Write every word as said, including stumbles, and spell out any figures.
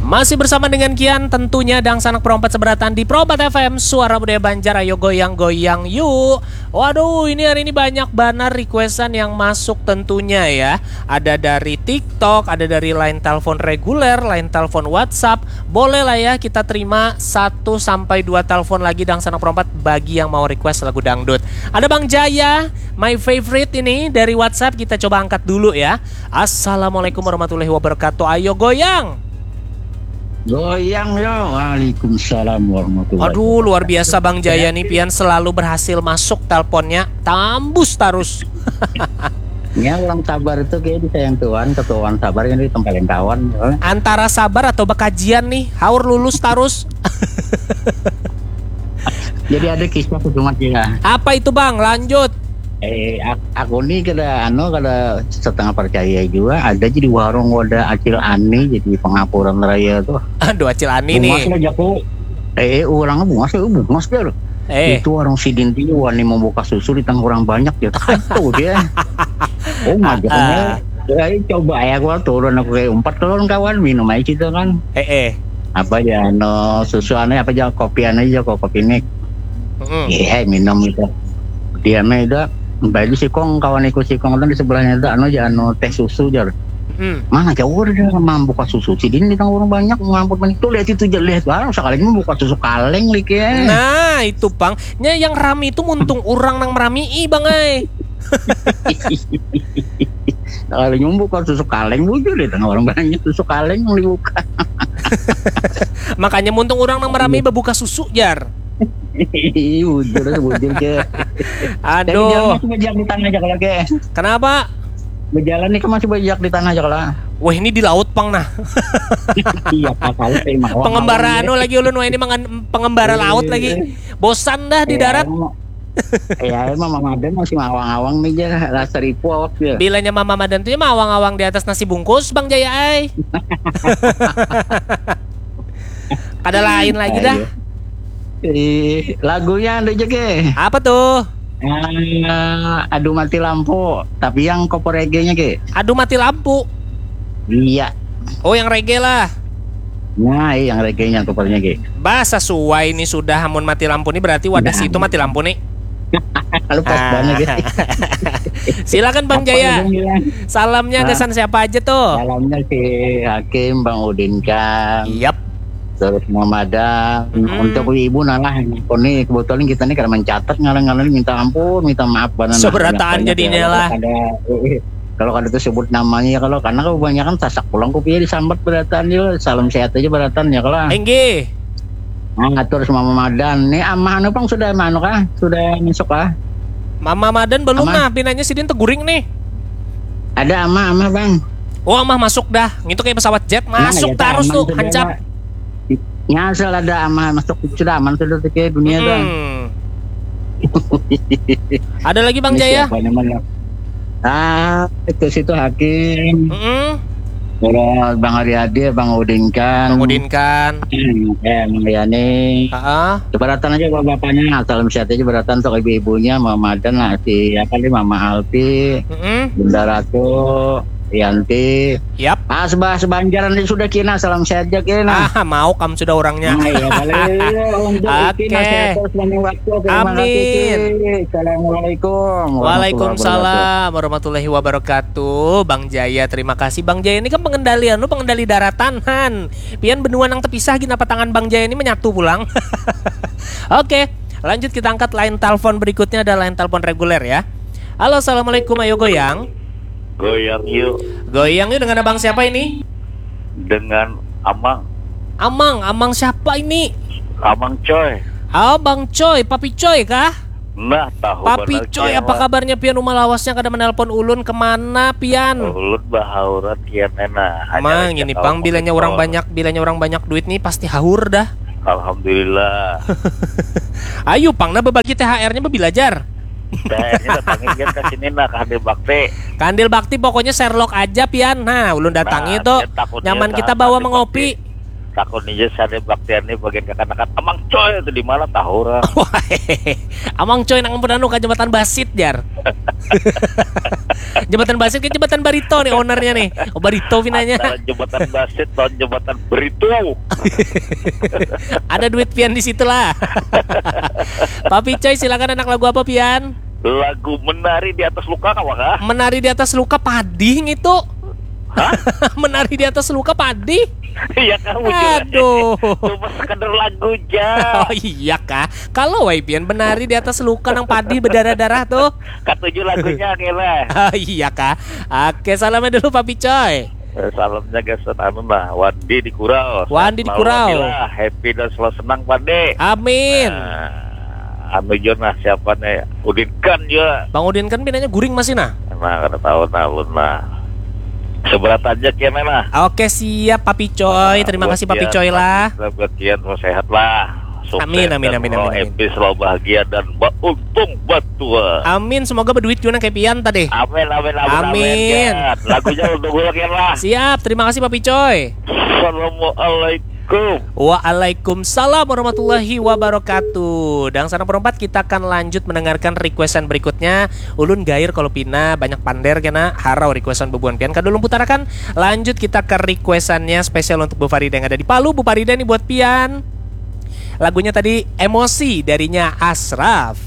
Masih bersama dengan Kian, tentunya Dangsanak Perompat Seberataan di Perompat F M, Suara Budaya Banjar. Ayo goyang-goyang yuk. Waduh, ini hari ini banyak banar requestan yang masuk tentunya ya. Ada dari TikTok, ada dari line telepon reguler, line telepon WhatsApp. Boleh lah ya, kita terima satu sampai dua telepon lagi, Dangsanak Perompat, bagi yang mau request lagu dangdut. Ada Bang Jaya, my favorite ini, dari WhatsApp. Kita coba angkat dulu ya. Assalamualaikum warahmatullahi wabarakatuh. Ayo goyang. Goyang yo. Waalaikumsalam warahmatullahi wabarakatuh. Aduh, luar biasa Bang Jaya nih, pian selalu berhasil masuk teleponnya, tambus terus. Ya, orang sabar itu kayak disayang Tuhan, ketuaan sabar yang ditemparin kawan. Antara sabar atau bekajian nih, haur lulus terus. Jadi ada kisah tuh, Mat, ya. Apa itu, Bang? Lanjut. Eh, ak- aku nih kada, anu, kada setengah percaya juga. Ada jadi warung wadah Acil Ani jadi pengapuran raya tuh. Aduh, Acil Ani nih. Bungas lah jaku. Eh, eh, orangnya bungas, eh, bungas dia loh. Eh. Itu warung sidin tuh wani membuka susu di tengah orang banyak, dia tak tahu dia. Oh, ah, majaknya. Ah. Ya, coba ya, aku turun, aku kayak empat kawan-kawan minum aja gitu kan. Eh, eh. Apa ya, no, susu anu apa aja, kopi anu aja, kok kopi mik. Mm-mm. Iya, minum itu. Dia mah itu, baju sikong, kawan ikut sikong itu di sebelahnya itu, anu aja, anu, teh susu, jar. Mm. Mana jauh dia mampu buka susu, sidin di tengah orang banyak, ngampun menitu, lihat itu aja, lihat, wah, sekali ini buka susu kaleng, like ya. Nah, itu, Bang. Nya yang rami itu muntung orang nang merami, ih, Bang, ai. Kalau nyumbuk kan susu kaleng bujur di tengah orang banyak susu kaleng yang dibuka. Makanya muntung orang nang merami bebuka susu, jar. Ih, bujur, bujur ke. Aduh. Tapi dia masih bajak di tanah aja kalau ke. Kenapa? Berjalan nih kan masih bajak di tanah aja kalau. Wah, ini di laut, Bang, nah. Iya, kapal, eh, mawang-mawang. Pengembara anu lagi ulun, wah, ini mangan pengembara laut lagi. Bosan dah di darat. Iya, emang Mama Madan masih mawang-awang nih, jar. Rasa ripu awak dia. Bilanya Mama Madan tuh ya mawang-awang di atas nasi bungkus, Bang Jaya ai. Kada lain lagi dah. Ayo. Ih, lagunya ada aja ke. Apa tuh? Eh, Aduh Mati Lampu, tapi yang cover reggae-nya ke. Aduh Mati Lampu. Iya. Oh, yang reggae lah. Nah, iya, yang reggae-nya covernya ke. Bah, sesuai nih sudah, amun mati lampu nih berarti wadah situ mati lampu nih. Kalau pas banget ya. Silakan Bang Jaya. Salamnya gasan siapa aja tuh? Salamnya si Hakim, Bang Udin kan. Yap. Terus Mama Madan. Untuk ibu nah lah. Ini kebetulan kita nih karena mencatat ngalang-ngalang minta ampun, minta maaf banar. Seberataan jadinya lah. Ada, eh, eh. Kalau kada tersebut namanya, kalau karena kebanyakan sasak pulang kopinya disambat berataan juga. Salam sehat aja berataan ya kalau. Inggih. Nah, ngatur sama Mama Madan. Nih Amah anu pang sudah anu kah? Sudah masuk kah? Mama Madan belum nah, pinanya sidin teguring nih. Ada Amah, Amah, Bang. Oh, Amah masuk dah. Ngitu kayak pesawat jet, masuk terus tuh, hancap. Nya asal ada Amah masuk sudah aman sudah tuh kayak dunia tuh. Ada lagi Bang Jaya? Siapa namanya? Ah, itu situ Hakim. Mm-mm. Terus Bang Ariadi, Bang Udin kan. Bang Udin kan. Eh, Bang Yani. Heeh. Keberatan aja bapak-bapaknya, salam sehat aja beratan untuk ibu-ibunya, Mama Madan lah, si apa nih, Mama Alpi, mm-mm. Bunda Ratu, Yanti. Yap. Ah, sebah sebanjaran ini sudah kina, salam sehat aja kina. Ah, mau kamu sudah orangnya. Nah, iya, balik untuk Oke. Iki masih atas banyak waktu. Terima kasih. Amin. Assalamualaikum. Waalaikumsalam warahmatullahi wabarakatuh. Bang Jaya, terima kasih Bang Jaya. Ini kan pengendalian lu pengendali daratan han. Pian benua nang terpisah gin apa tangan Bang Jaya ini menyatu pulang. Oke, lanjut kita angkat line telepon berikutnya, ada line telepon reguler ya. Halo, assalamualaikum, ayo goyang. Goyang yuk. Goyang yuk, dengan abang siapa ini? Dengan Amang. Amang, Amang siapa ini? Amang Coy. Oh, Bang Coy, Papi Coy kah? Nah, tahu Papi Coy, apa kabarnya pian? Uma lawasnya kada menelpon ulun, kemana pian? Ulun bahaurat kian ena. Mang, ini pang bilanya orang banyak, bilanya orang banyak duit nih pasti haur dah. Alhamdulillah. Ayo pang nah bebagi T H R-nya bebilajar. T H R-nya datangin kan ke sini nah, ke Handil Bakti. Ke Handil Bakti pokoknya Sherlock aja pian. Nah, ulun datangi tuh. Nyaman kita bawa mengopi. Takun aja sadaya baktian nih bagian kakanakan. Amang Coy itu di mana tahu orang. Amang Coy nang pernah ka Jembatan Basit, jar. Jembatan Basit ke Jembatan Barito nih ownernya nih. Oh, Barito pinanya. Antara Jembatan Basit dan Jembatan Beritu. Ada duit pian di situ lah. Papi Coy, silakan, anak lagu apa pian? Lagu Menari di Atas Luka, kawa kah? Menari di Atas Luka padih ngitu. Hah? Menari di Atas Luka padih. Iya kah, bujur. Aduh. Cuma sekedar lagu ja. Oh iya kah? Kalau wai pian menari di atas luka nang padih berdarah-darah tuh. Katuju lagunya kira. Oh iya kah? Oke, salamnya dulu Papi Coy. Eh, Salamnya gasan anu nah, Wandi di Kurau. Wandi di Sehat Kurau. Selalu, Wandi lah. Happy dan selalu senang, Wandi. Amin. Nah, anu jo nah, siapa nih? Udin Khan jo. Bang Udin Khan pinanya guring masih nah. Nah, kada tahu nah, ulun nah. Seberat aja kena nah. Oke, siap Papi Coy. Terima kasih Papi Coy lah. Sebagian mau sehat lah. Sukses Amin, amin, dan amin, mau amin, amin. Happy, selalu bahagia dan beruntung batua. Amin, semoga berduit juga nang kayak pian tadi. Amin, amin, amin, Amin. Amin. Lagunya untuk gue lah. Siap, terima kasih Papi Coy. Assalamualaikum. Waalaikumsalam warahmatullahi wabarakatuh. Dan sana perempat, kita akan lanjut mendengarkan requestan berikutnya. Ulun gair kalau pina banyak pander kena harau requestan bebuan pian. Kada ulun putarakan, lanjut kita ke requestannya spesial untuk Bu Farida yang ada di Palu. Bu Farida nih buat pian. Lagunya tadi Emosi darinya Asraf.